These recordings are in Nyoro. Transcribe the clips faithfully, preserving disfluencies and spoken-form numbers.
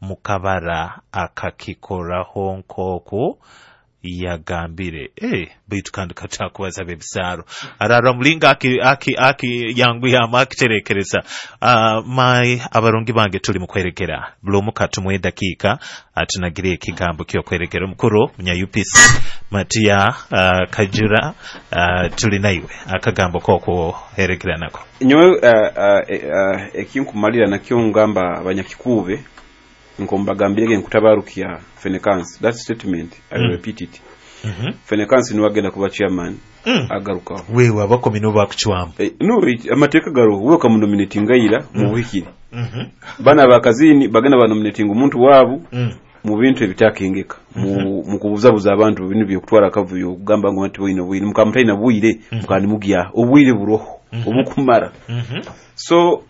Mukabara akakikoraho nk'oku yagambire. Eh, baitu kandi katakubaza bebisaro arara mulinga aki aki aki yangu yama akiterekereza. uh, mai abarungi bange tuli mukwerekera buli katumwe dakika atunagire ekigambo kyokwerekera. Omukuru munya U P C Matia uh, Kajura, uh, tuli naiwe akagambo kokwo herekera nako. Nyowe uh, uh, uh, ekinkumalira nakyo ngamba abanyakikube nkombagambirege nkutabarukia Fenekansi. That statement I will Mm. repeat it. mm -hmm. Fenekansi niwe agenda kuba chairman mm. agarukaho. Wewe abakomi nibo bakucwamu. Eh, no, it- amateeka garoho, we okamunominatinga ira mu buhikire. mm -hmm. Bana bakazini bagenda banominatinga omuntu waabu mm. mu bintu ebitakengeka, mu mu kubuzabuza abantu, bintu byokutwara akavuyo, okugamba ngo nti bwino bwino mukamutaina bwire, mukandi mugya obwire buroho obukumara. mm -hmm. So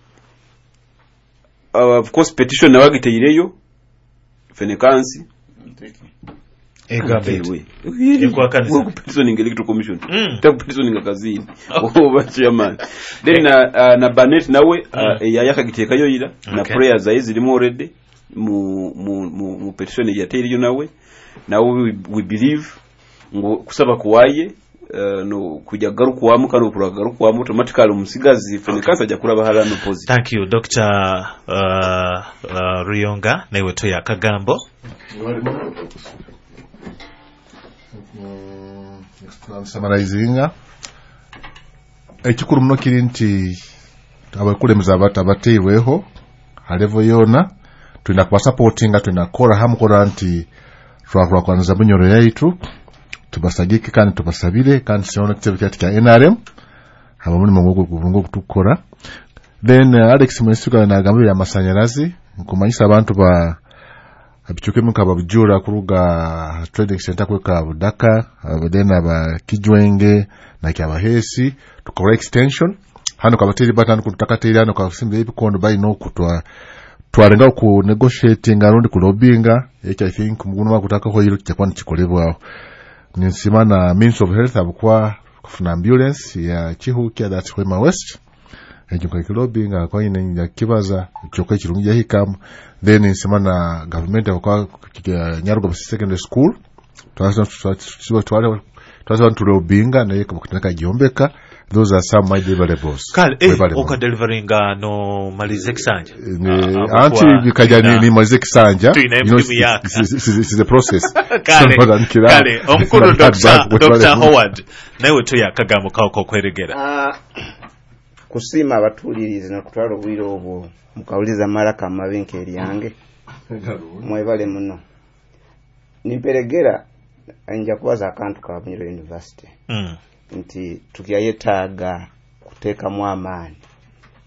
uh, of course petition nawagiteireyo Fenekansi. Egambe Ekwakanisa. Petitioning Electoral Commission, Mm. takupetitioninga kazini oba chairman. Then na uh, na Banet nawe uh, yayakagiteekayo ira na Okay. prayers zaye zirimu already mu mu mu, mu petition yateireyo nawe nawe we, we believe ngo kusaba kuwaye uh, no kujya garukwamu kandi okuragarukamu automatically omusigazi Fenekansi ajja kuraba harano positive. Thank you, Doctor uh, uh, Ruyonga, newe toya akagambo. Summarizinga, ekikuru muno kiri nti abakulembeze abato abateirweho ha level yoona tulina kubasupportinga, tulina kukora hamu kurora nti twakurakwaniza Bunyoro yaitu. Tubasagike kandi tubasabire kandi siona ekitebe kyaitu kya N R M haba mulimo ng'ogwo ogutukukora. Then uh, Alex Mwesiga nagambire amasanyarazi, nkumanyisa abantu ba abichukemu nkababujura kuruga trading center kweka Budaka, uh, then aba Kijwenge na Kyabahesi tukora extension hano kabateri batano kutakateri hano kasimba ebikondo balina okutwa twarenga ku negotiating arundi ku lobbyinga. Ekyo I think muguno wakutakaho hilo kichakuwa nikikolebwaho. Ninsima na Ministry of Health abukuwa kufuna ambulance ya Kihuukya, that's Hwema West. Ekyo nkakilobbyinga kwaine nyakibaza kyokka ekirungi yahikamu. Then nsima na government abukuwa Nyarugoba Secondary School twasaba tulobbyinga naye kabakutandika gyombeka. Those are some my deliverables. Kale eh, Webale muno. Okadeliveringa no malize ekisanja. Ne- Ah, anti abukuwa bikaja tulina- ni malize ekisanja. Tulina You know, emirimu yaka. it's- it's- it's a process. Kale. So, nkira- Kale omukuru Not Doctor bad, webale Doctor muno. Howard, nawe toya akagambo kawo kokweregera. Ah, kusiima abatuulirizi nokutwala obwire obwo mukawuliza amalaka amabi nk'eryange, mwebale muno. Nimperegera nja kubaza akantu ka Bunyoro University mm. nti tukyayetaaga kuteekamu amaani.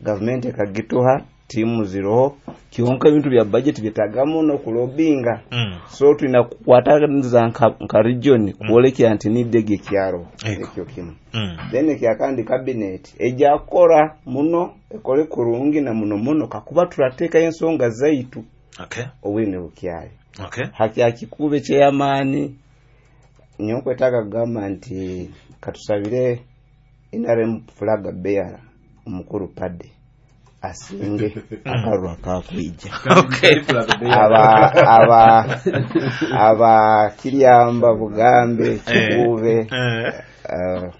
Gavumenti ekagituha, tiimu ziroho, kyonka ebintu bya budget byetaaga muno kulobinga. Mm. So tulina kukwataniza nka, nka region kwolekera nti nidde ekyaro. Ego. Ekyo kimu. Mm. Then ekyakandi, cabinet ejja kukora muno, ekole kurungi na muno muno kakuba turateekayo ensonga zaitu. Okay. Obwine bukyali Okay. hakya kikube kyeyamaani. Nyowe nkwetaaga kugamba nti katusabire N R M flag bearer omukuru Padde asinge akalulu akakwija. Okay. Aba aba aba Kiryamba, Bugambe, Kikuube, Eh. uh,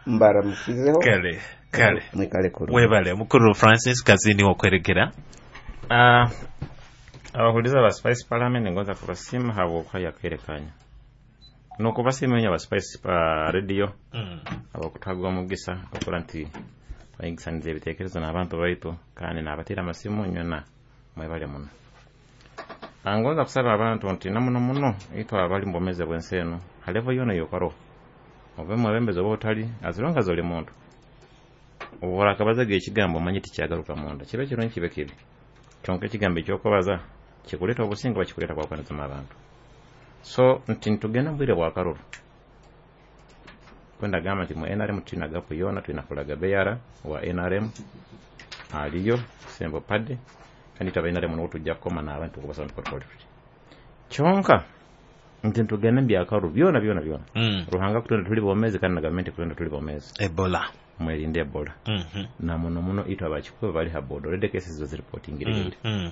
mbaramukizeho. Kale kale. Mwikale kurungi. Webale. Mukuru Francis Kazini, wokweregera. Ah, abahuliza ba Spice Parliament, ngoza kubasiima habwokuhaya akaire kanya nokubasiima inye aba Spice uh, Radio mm. abakutwaga omugisa okura nti twayigisaniza ebitekerezo n'abantu baitu kandi nabatera amasimu nyona, mwebale muno. Ah, ngonza kusaba abantu nti namuno muno itwe abali mubomeze bwensi eno ha level yona yokaroho, obe mwebembezi oba otali, as long as oli muntu oburakabazaga ekigambo omanyi tikyagaruka munda, kibe kirungi kibe kibi, kyonka ekigambo ekyokubaza kikuleeta obusinge oba kikuleeta kwakwanizemu abantu. So nti nitugenda mu bwire bwa karuru, kwendagamba nti mu N R M tulina gapu yoona, tulina flag bearer wa N R M aliyo Sembo Padde, kandi itwe aba N R M niwo tujja kukoma n'abantu kubasaba nti tukole tuti kyonka nti nitugenda mu byakaruru byona byona byona. Mm. Ruhanga kutwenda tuli bomezi kandi na gavumenti kutwenda tuli bomezi. Ebola. Mwerinde Ebola. mm -hmm. Na muno muno itwe abakikuba bali ha border, already cases bazireportingire. mm. mm.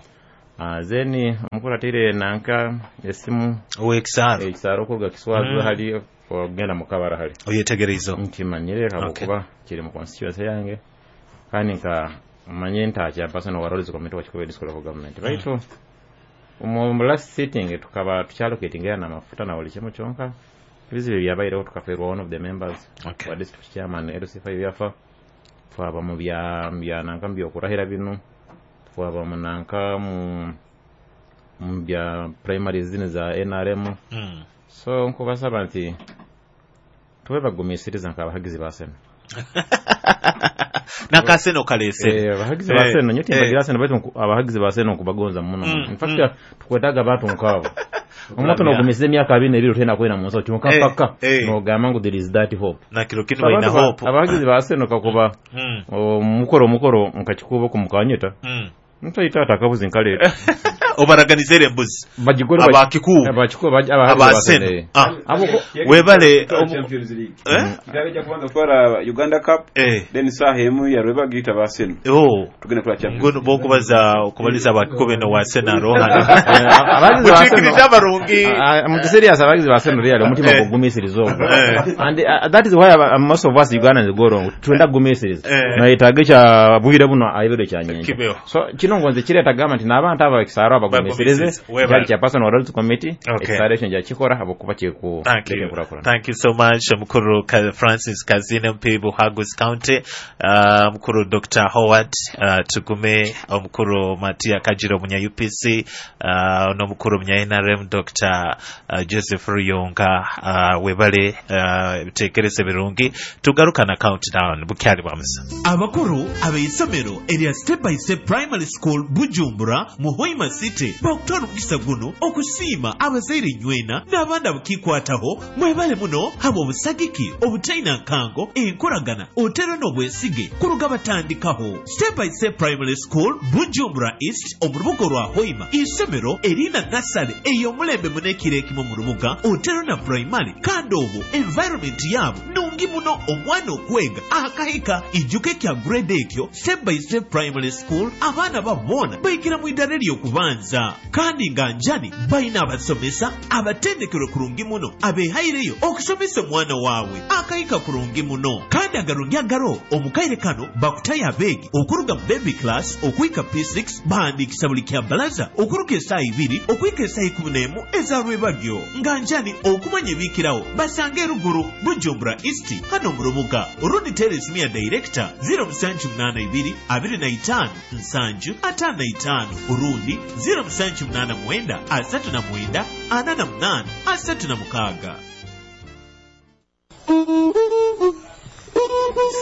Uh, then omukuru ateire nanka esimu ow'ekisaaro ekisaaro okuruga Kiswazi Mm. hali ogenda mukabara hali oyetegereize nkimanyire habwokuba kiri mu constituency yange kandi nka manye nta chairperson wa Roads Committee wa Kikuube District Local Government baitu mu last sitting tukaba tukyallocatinga n'amafuta na buli kimu kyonka ebizibu byabaireho tukaferwa one of the members Okay. wa district chairman L C five yafa twaba mu bya bya nanka mu byokurahira bino twaba mu nanka mu mu bya primary zino za N R M Mm. so nkubasaba nti tube bagumisiriza nk'abahagizi ba Seno nakaseno kalese Eh, abahagizi ba Eh, Seno nyo eh. timbagira Seno baitu nku- abahagizi ba Seno nkubagonza muno Mm, in fact mm. tukwetaga abantu nkabo omuntu n'ogumisiriza emyaka abiri n'ebiri otenda kwenda mu nsi kyonka Eh, paka eh. n'ogamba ngu there is that hope nakiro kinu So balina abantu ba- hope abahagizi ba Seno kakuba Mm, omukoro omukoro nkakikuba okumukanyeta mm. ntaita akabuzi nkaleeta obaraganizere embuzi bagigore Abakikuubo. abakikuubo abahagizi ba Abaseno. Seno eh. Ah. Abo ko- Webale, Twala omu- Champions League. Eh? Kitaabe kya kubanza kutwala Uganda Cup Eh. then saaha emu ya Rwebagita ba Seno Oh. tugenda kutwala Champions Ngono bokubaza okubaliza abakikuubo eno wa Seno arohana Eh, abahagizi ba Seno mukiikiriza abarungi Ah, mu serious abahagizi ba Seno really omutima Eh. gugumisiriza ogwo Eh. and uh, that is why uh, most of us Ugandans go wrong twenda kugumisiriza Eh. nayetaaga ekya bwire buno aibere kya Kibeho. so kino ngonze kireeta gamba nti n'abantu abo ekisaaro abagumisirize Bagumisirize. Webale. kyali kya person wa Roads Committee Okay. ekisaaro ekyo njakikora habwokuba kiriku Thank you. enkulaakulana. Thank you so much, Mukuru Ka- Francis Kazine M P Buhaguzi County, uh, Mukuru Doctor Howard uh, Tugume, Mukuru Matia Kajiro Munya U P C, uh, n'Omukuru Munya N R M Doctor uh, Joseph Ruyonga, uh, webale uh, bitekerezo birungi. Tugaruka na countdown bukyali bwa musa. Abakuru ab'eisomero erya Step by Step Primary School Bujumbura mu Hoima City bakutwala omukisa guno okusiima abazaire nywena n'abandi abakikwataho mwebale muno haba obusagiki obutaina nkango enkoragana otero n'obwesige kuruga batandikaho. Step by Step Primary School Bujumbura East omu rubuga rwa Hoima isomero erina nasale ey'omulembe munekiro ekimu mu rubuga otero na primary kandi obwo environment yaabo nungi muno omwana okwega akahika ijuka ekya grade ekyo Step by Step Primary School abaana babona bayigira mu idara ery'okubanza kandi nga njani balina abasomesa abatendekerwe kurungi muno abehaireyo okusomesa omwana waabwe akahika kurungi muno kandi agarungi agaro omukaire kano bakutayo abeegi okuruga mu baby class okuhika P six bahandiikisa buli kya balaza okuruga esaaha ibiri okuhika esaaha ikumi n'emu ezarwebagyo nga njani okumanya ebiikirawo basanga eruguru Bujumbura East hano mu rubuga orundi teera esimu ya director zero musanju munaana ibiri abiri na itaano nsanju ataano na itaano orundi zero musanju munaana mwenda asatu na mwenda ana na munaana asatu na mukaaga.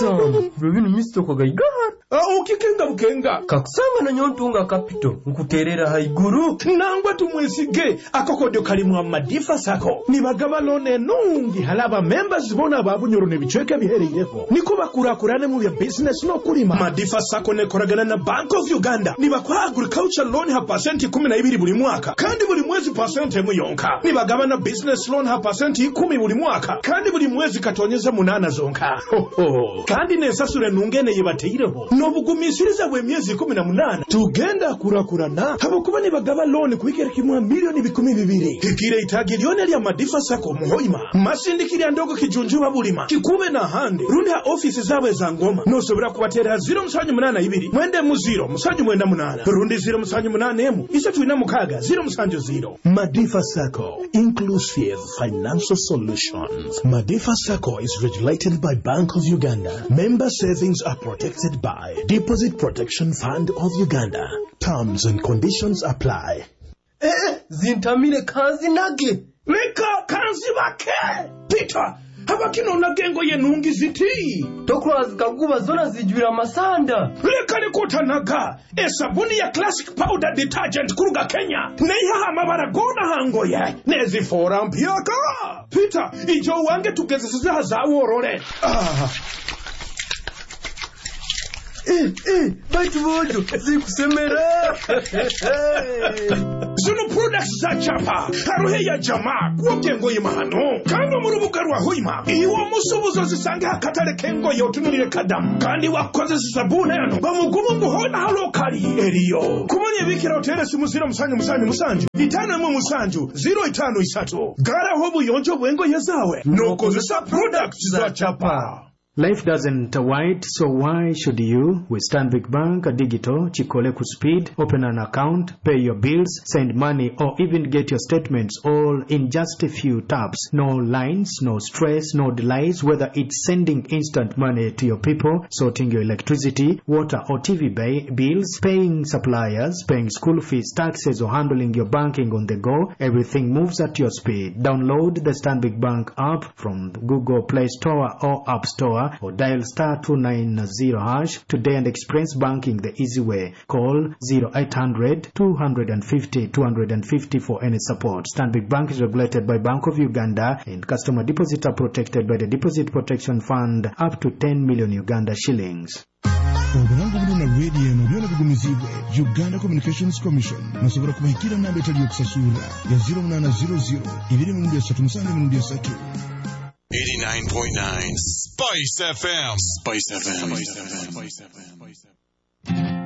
Sam, bino misitoko gaigara. Ah, ukikenga bukenga. Kakusanga na nyontunga capital nkuterera haiguru. Nangwa tumwesige akokodyo kalimu amadifa sako. Nibagaba lone nungi halaba members bona babunyoro nebichweka bihereyeho. Niko bakurakurane mu bya business no kulima. Madifa sako nekoragana na Bank of Uganda. Nibakwa agriculture loan ha percent kumi na ibiri buli mwaka. Kandi buli mwezi percent emu yonka. Nibagaba na business loan ha percent ikumi buli mwaka. Kandi buli mwezi katonyeza munana zonka. Ho, ho. Kandi nesasure nungene yebateireho. Nobugumisiriza bwe myezi kumi na munana tugenda kurakurana habokuba nibagaba loan kuikera kimwa milioni bikumi bibiri hikire itagi lyone lya Madifa Sako muhoima masindikirya ndogo kijunjuba bulima kikube na hande rundi ha ofisi zawe za ngoma nosobora kubatera zero musanju munana ibiri mwende mu zero musanju mwenda munana rundi zero musanju munana emu isatu ina mukaga zero musanju zero. Madifa Sako, inclusive financial solutions. Madifa Sako is regulated by Bank of Uganda. Member savings are protected by Deposit Protection Fund of Uganda. Terms and conditions apply. Eh, zintamire kanzi nage. Leka kanzi bake. Peter, habakino nagengo ye nungi ziti. Tokura zikaguba zona zijwira masanda. Leka likutanaga. Esabuni ya Classic Powder Detergent kuruga Kenya. Neiha amabara gona hangoye. Nezifora mpyaka. Peter, ijo wange tugezesiza zaworore. Ah. Eh, eh, baitu bojo zikusemera. Zino Products za Chapa, haruhe ya jama kwogya engoye mahano. Kandi omu rubuga rwa Hoima iwe omusubuzi ozisange hakatale k'engoye otunulire kadamu, kandi wakozesa sabuni eno bamugumu ngu hona halokali eriyo. Kumanya ebikira otere simu ziro musanju musanju musanju itano emu musanju ziro itano isatu. Garaho obuyonjo bw'engoye zawe n'okozesa products za Chapa. Life doesn't wait, so why should you? With Stanbic Bank Digital, Chikole ku speed, open an account, pay your bills, send money, or even get your statements all in just a few taps. No lines, no stress, no delays, whether it's sending instant money to your people, sorting your electricity, water or T V ba- bills, paying suppliers, paying school fees, taxes, or handling your banking on the go, everything moves at your speed. Download the Stanbic Bank app from Google Play Store or App Store, or dial star two nine zero hash today and experience banking the easy way. Call zero eight hundred two fifty two fifty for any support. Stanbic Bank is regulated by Bank of Uganda and customer deposits are protected by the Deposit Protection Fund up to ten million Uganda shillings. Obulango buno na rediyo eno byona bigumizibwe Uganda Communications Commission. Nosobola kubahikira namba etali yokusasura ya zero munana zero zero ibiri emirundi esatu musanju emirundi esatu. eighty-nine point nine Spice F M. Spice F M. Spice F M.